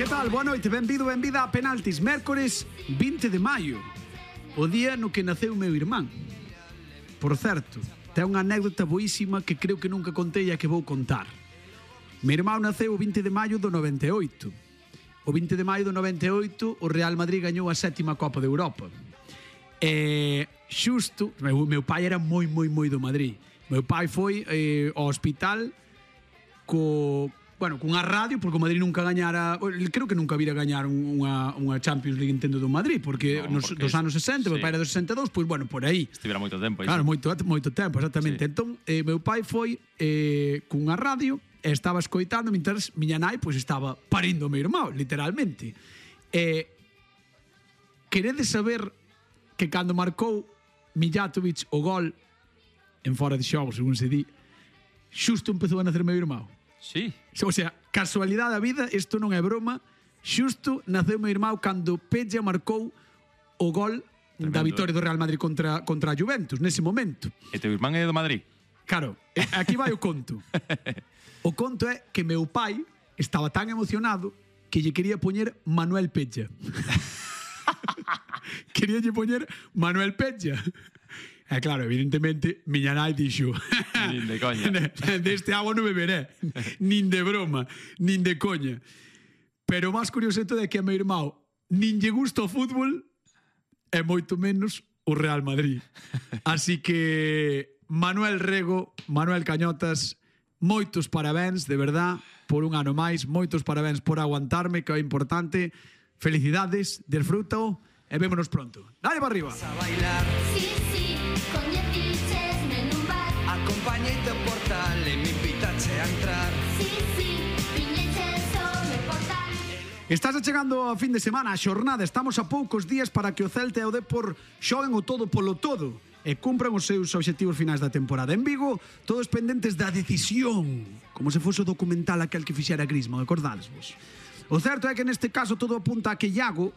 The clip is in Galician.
Que tal? Boa noite, benvido, benvida a Penaltis. Mércores 20 de maio, o día no que naceu meu irmán. Por certo, ten unha anécdota boísima que creo que nunca contei e que vou contar. Meu irmán naceu o 20 de maio do 98. O 20 de maio do 98 o Real Madrid gañou a 7ª Copa de Europa. E xusto, meu pai era moi do Madrid. Meu pai foi ao hospital cunha radio, porque o Madrid nunca gañara, creo que nunca vira gañar unha Champions League entendo do Madrid, porque dos anos 60, meu pai era dos 62, pois por aí. Estivera moito tempo. Claro, moito tempo, exactamente. Entón, meu pai foi cunha radio e estaba escoitando mentras miña nai pois estaba parindo o meu irmão, literalmente. Queredes saber que cando marcou Mijatovic o gol en fora de xogo, según se di, xusto empezou a nacer meu irmão. Sí. O sea, casualidade da vida, isto non é broma, xusto naceu meu irmão cando Pedja marcou o gol da vitoria do Real Madrid contra a Juventus, nese momento. E teu irmán é do Madrid? Claro, aquí vai o conto. O conto é que meu pai estaba tan emocionado que lle quería poñer Manuel Pedja. Quería lle poñer Manuel Pedja. E claro, evidentemente, miña nai dixo nin de coña. Deste agua non beberé, nin de broma, nin de coña. Pero o máis curioso é que a meu irmão nin lle gusta o fútbol e moito menos o Real Madrid. Así que Manuel Rego, Manuel Cañotas, moitos parabéns, de verdad, por un ano máis, moitos parabéns por aguantarme, que é importante. Felicidades, disfrútao e vémonos pronto. Dale para arriba. A bailar, Sí, sí, con 10 fiches nun bar. acompañeite ao portal e me invitache a entrar. Sí, sí, piñeches o meu portal. Estás chegando a fin de semana, a xornada. Estamos a poucos días para que o Celta e o Depor xoguen o todo polo todo e cumpran os seus obxectivos finais da temporada. En Vigo, todos pendentes da decisión, como se fose o documental aquel que fixera Griezmann, acordadesvos. O certo é que neste caso todo apunta a que Iago